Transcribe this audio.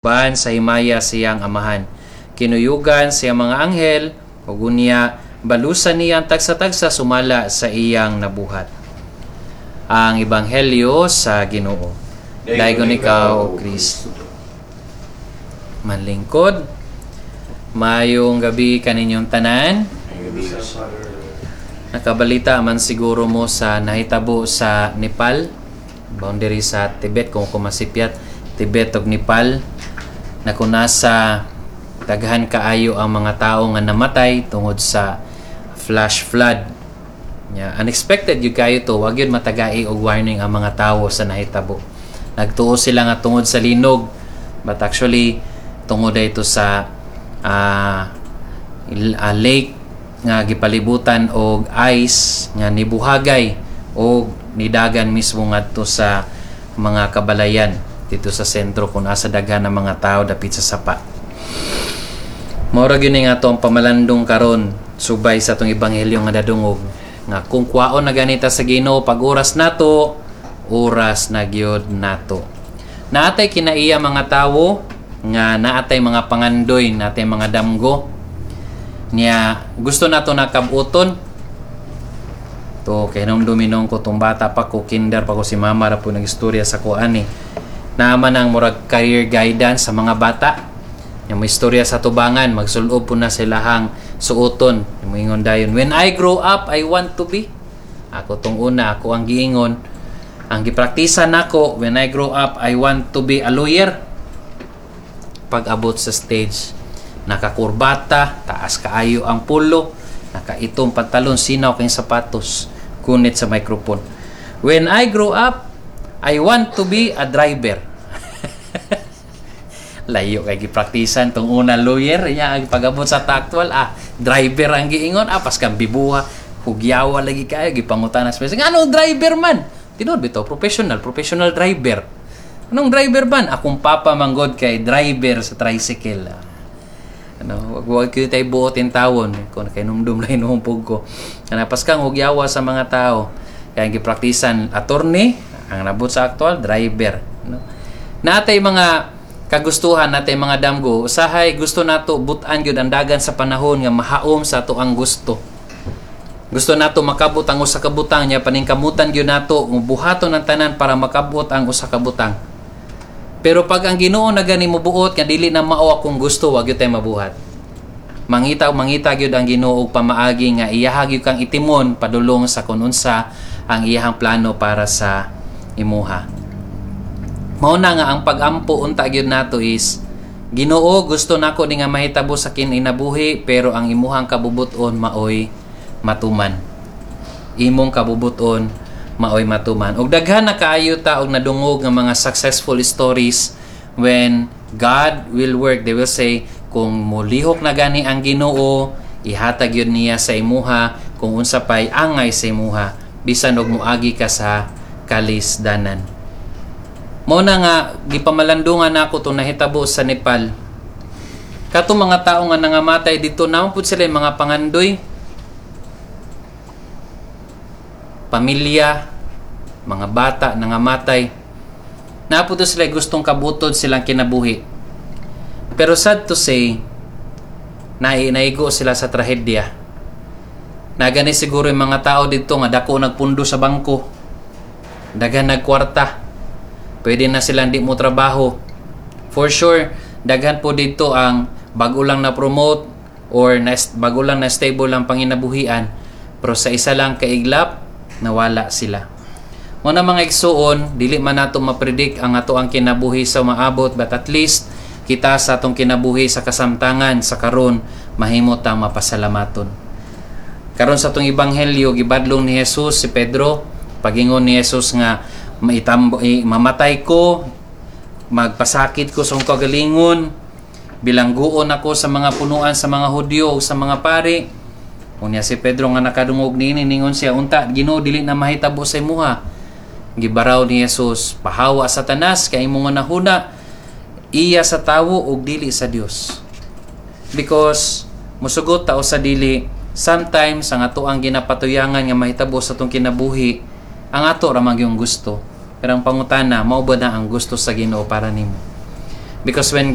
Uban sa himaya sa iyang Amahan. Kinuyugan sa iyang mga anghel, ug unya balusan niya ang tagsa-tagsa sumala sa iyang nabuhat. Ang Ebanghelyo sa Ginoo. Daygon ikaw, O Kristo. Manlingkod, maayong gabi kaninyong tanan. Nakabalita man siguro mo sa nahitabo sa Nepal, boundary sa Tibet, kung kumasipyat, Tibet ug Nepal, na kung nasa daghan kaayo ang mga tao nga namatay tungod sa flash flood. Yeah, unexpected gyud kayo to, wag yun matagai og warning ang mga tao sa nahitabo. Nagtuo sila nga tungod sa linog, but actually tungod ito sa lake nga gipalibutan og ice nga nibuhagay og nidagan mismo ngadto sa mga kabalayan dito sa sentro kung asa daghan ng mga tao dapit sa sapa. Mao ra gyud ni nga ato ang pamalandong karon subay sa atong ebanghelyo nga nadungog nga kung kwaon na ganita sa Ginoo pag oras nato, oras na gyud nato. Naatay kinaiya mga tawo nga naatay mga pangandoy, naatay mga damgo niya gusto nato nakabuton to. Kay nung duminong ko tong bata pa ko, kinder pa ko, si mama ra po nagistorya sa ko ani. Naaman ang murag career guidance sa mga bata. Yung may istorya sa tubangan, magsulob po na silahang suoton. Yung moingon dayon, "When I grow up, I want to be." Ako tong una, ako ang giingon. Ang gipraktisa nako, "When I grow up, I want to be a lawyer." Pag abot sa stage, nakakurbata, taas kaayo ang pulo, nakaitom pantalon, sinaw kay sapatos, kunit sa microphone. "When I grow up, I want to be a driver." Layo kay gipraktisan tong una, lawyer nya. Pag-abot sa actual, driver ang giingon. Paskan bibuha, hugyawa lagi kayo. Gipangutana sa nga anong driver man. Tinuod bitaw, professional, professional driver. Anong driver man? Akong papa manggod kay driver sa tricycle. Ano, wag wag kayo tayo buotin tawon kung kay numdum lang inuhumpog ko. Kana paskang hugyawa sa mga tao. Kaya ang gipraktisan attorney, ang nabot sa actual driver, no? Natay mga kagustuhan, natay mga damgo. Usahay gusto nato butan gyud ang dagan sa panahon nga mahaom sa ato ang gusto. Gusto nato makabot ang usa ka butang niya, paningkamutan gyud nato buhaton ang tanan para makabot ang usa ka butang. Pero pag ang Ginoo na gani mobuot nga dili na mao akong gusto, wag gyud tay mabuhat. Mangita mangita gyud ang Ginoo og pamaagi nga iyaha gyud kang itimon padulong sa kun unsa ang iyahang plano para sa imuha. Mao na nga ang pag-ampo unta gyud nato is, "Ginoo, gusto nako ni nga mahitabo sa kinabuhi, pero ang imuhang kabubuton maoy matuman. Imong kabubuton maoy matuman." Og daghan na kaayo ta og nadungog nga mga successful stories when God will work. They will say, kung molihok na gani ang Ginoo, ihatag yun niya sa imuha kung unsa pay angay sa imuha bisan og moagi ka sa kalisdanan. Mao na nga gipamalandungan nako tong nahitabo sa Nepal. Kato mga tao nga nangamatay dito, naman pud sila yung mga pangandoy, pamilya, mga bata nangamatay. Naa pud to sila gustong kabutod silang kinabuhi. Pero sad to say, naigo sila sa trahedya. Nagani siguro yung mga tao dito nga dako nagpundo sa bangko. Daghan nagkwarta. Pwede na silang di mo trabaho. For sure, daghan po dito ang bago lang na promote or na, bago lang na stable ang panginabuhian. Pero sa isa lang kaiglap, nawala sila. Muna mga igsuon, dili man nato mapredict ang ato ang kinabuhi sa maabot, but at least kita sa atong kinabuhi sa kasamtangan sa karon, mahimo tang mapasalamaton. Karon sa atong ebanghelyo, gibadlong ni Jesus si Pedro. Pagingon ni Jesus nga maitambo, mamatay ko, magpasakit ko sa akong kagalingon, bilangguon ako sa mga punuan sa mga Hudyo o sa mga pari. Unya si Pedro nga nakadungog niini, ningon siya, "Unta Ginoo, dili na mahitabo sa imuha." Gibaraw ni Jesus, "Pahawa, Satanas, kay imong nahuna iya sa tawo ug dili sa Dios." Because musugot ta o sa dili, sometimes ang ato ang ginapatuyangan nga mahitabo sa atong kinabuhi, ang ato ra man gyung gusto. Pero ang pangutana, mao ba na ang gusto sa Ginoo para nimo? Because when